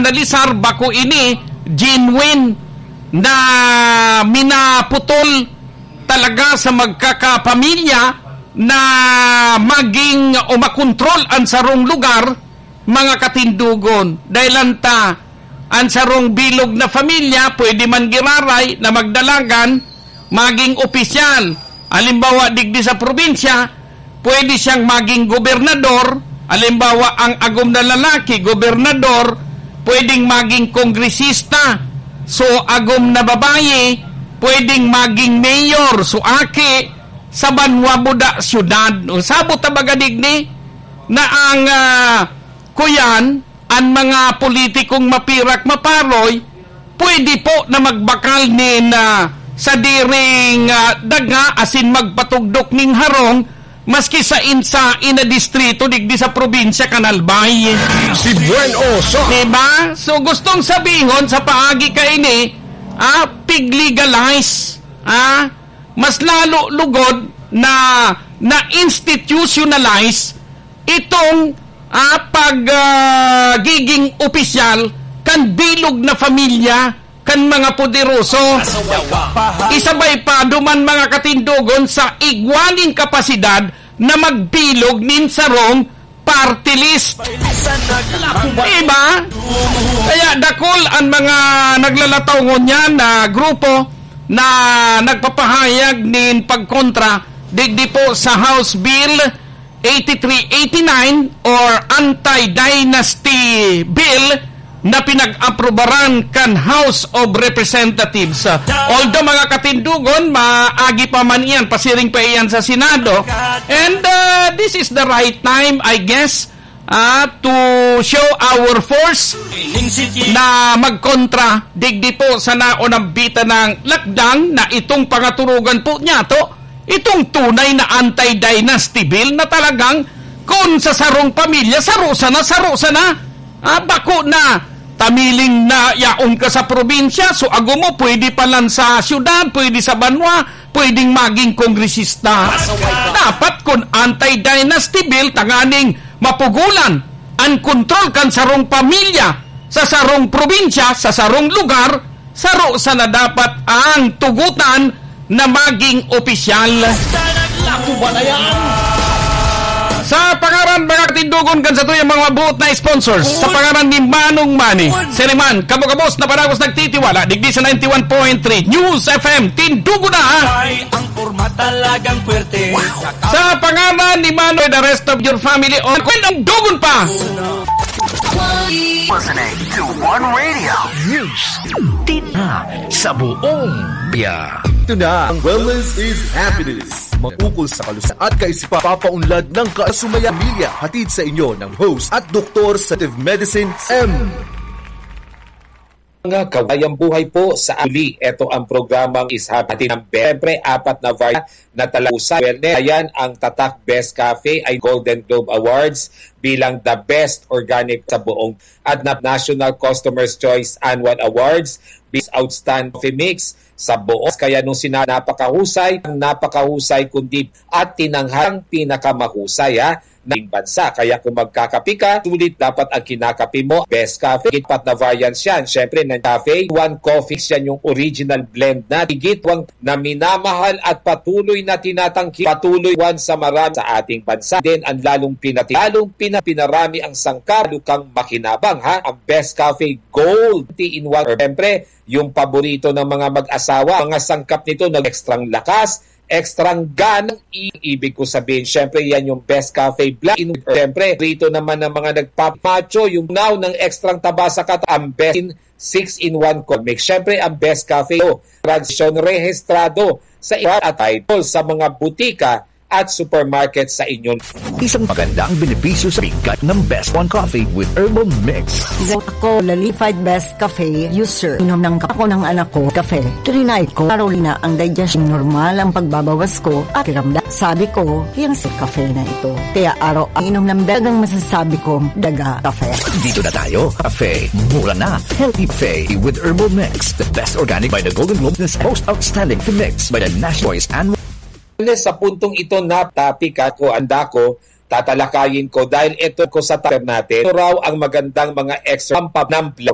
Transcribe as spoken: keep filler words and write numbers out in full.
Talisar, bako ini genuine na minaputol talaga sa magkakapamilya na maging o makontrol an sarong lugar, mga katindogon. Dahil anta, an sarong bilog na pamilya pwede man giraray na magdalagan, maging opisyal. Halimbawa, digdi sa probinsya, pwede siyang maging gobernador. Halimbawa, ang agom na lalaki, gobernador, pwedeng maging kongresista. So, agom na babayi, pwedeng maging mayor. So, aki, sa banwa buda syudad. O, sabot ta baga digdi na ang, ah, kuyan, an mga politikong mapirak maparoy, pwede po na magbakal nin, ah, sadiring, ah, daga asin magpatugdok ning harong maski sa insa ina distrito digdi sa probinsya kan Albay. Si Buen Oso. Diba? So, gustong sabihon sa paagi kaini, ah, pig-legalize, ah, mas lalo lugod na na-institutionalize itong, ah, pag, ah, giging opisyal kan bilog na pamilya kan mga poderoso. Isabay pa duman, mga katindogon, sa igwa nin kapasidad na magbilog nin sarong party list. Diba? Kaya dakul an mga naglalataw ngunyan na grupo na nagpapahayag nin pagkontra digdi po sa House Bill eighty-three eighty-nine or Anti-Dynasty Bill na pinag-aprobaran kan House of Representatives. Although, mga katindogon, maagi pa man iyan, pasiring pa iyan sa Senado. And, uh, this is the right time, I guess, uh, to show our force na magkontra digdi po sa naunambitan ng lakdang na itong pangaturugan po niya to. Itong tunay na anti-dynasty bill na talagang kun sa sarong pamilya, saro sana, saro sana. Ah, bako na, tamiling na yaon ka sa probinsya, so ago mo, pwede pa lang sa syudad, pwede sa banwa, pwedeng maging kongresista. Dapat kun anti-dynasty bill, tanganing mapugulan an kontrol kan sarong pamilya sa sarong probinsya, sa sarong lugar, saro sana dapat ang tugutan na maging opisyal. Sa pangaran, mga katindogon, kan satuyang mga buot na sponsors, sa pangaran ni Manong Manny, Seriman, kabos-kabos na panagos nagtitiwala, digdi sa ninety-one point three News F M, Tindugo na, ha? Ay, ang forma talagang puwerte. Sa pangaran ni Manong, the rest of your family, on, kwenang dugon pa! Listening to One Radio News. Tina sa buong biya. Ito na ang Wellness is Happiness. Mangukol sa kalusugan at kaisipan, papaunlad ng kasumaya pamilya. Hatid sa inyo ng host at doktor sa Medicine M. Mga kawayang buhay po sa uli. Ito ang programang Ishap. Hatid ng Be-, siyempre, apat na variety na talaga sa wellness. Ayan, ang Tatak Best Cafe ay Golden Globe Awards bilang the best organic sa buong at na National Customer's Choice Annual Awards, Best Outstanding Coffee Mix sa buong. Kaya nung sina-, napakahusay, ang napakahusay kundi at tinanghang pinakamahusay, ha, ng bansa. Kaya kung magkakape ka, sulit dapat ang kinakape mo, Best Cafe. Higit pat na variants yan. Siyempre, ng cafe, one coffee, yan yung original blend na. Higit wang na minamahal at patuloy na tinatangki, patuloy one sa marami sa ating bansa. Then, ang lalong pinati-, lalong pina-, pinarami ang sangkap, lalo kang makinabang, ha? Ang Best Cafe Gold, three in one. Or, siyempre, yung paborito ng mga mag-asawa, mga sangkap nito, nag-extrang lakas, extrang ganang i-, ibig ko sabihin, syempre, yan yung Best Cafe Black. In, syempre, rito naman ng mga nagpapamacho, yung now ng extrang taba sa kat-, ang best in six-in-one coffee mix. Syempre, ang Best Cafe, oh, transaksyon rehistrado sa iba at title sa mga butika at supermarket sa inyong Isang magandang benepisyo sa bigat ng Best One Coffee with Herbal Mix. Ako, Lalified Best Cafe user. Inom ng kape ko ng anak ko, kape. Trinay ko, Carolina, ang digestion normal ang pagbabawas ko at kiramdam. Sabi ko, "Yang sa kape na ito." Kaya araw ang inom ng dagang masasabi kong daga kape. Dito na tayo, kape. Mura na. Healthy kape with Herbal Mix. The best organic by the Golden Globe na most outstanding mix by the National Choice and Sa puntong ito na topic ako, anda ko, tatalakayin ko dahil ito ko sa topic natin. Ito raw ang magandang mga extra pampap ng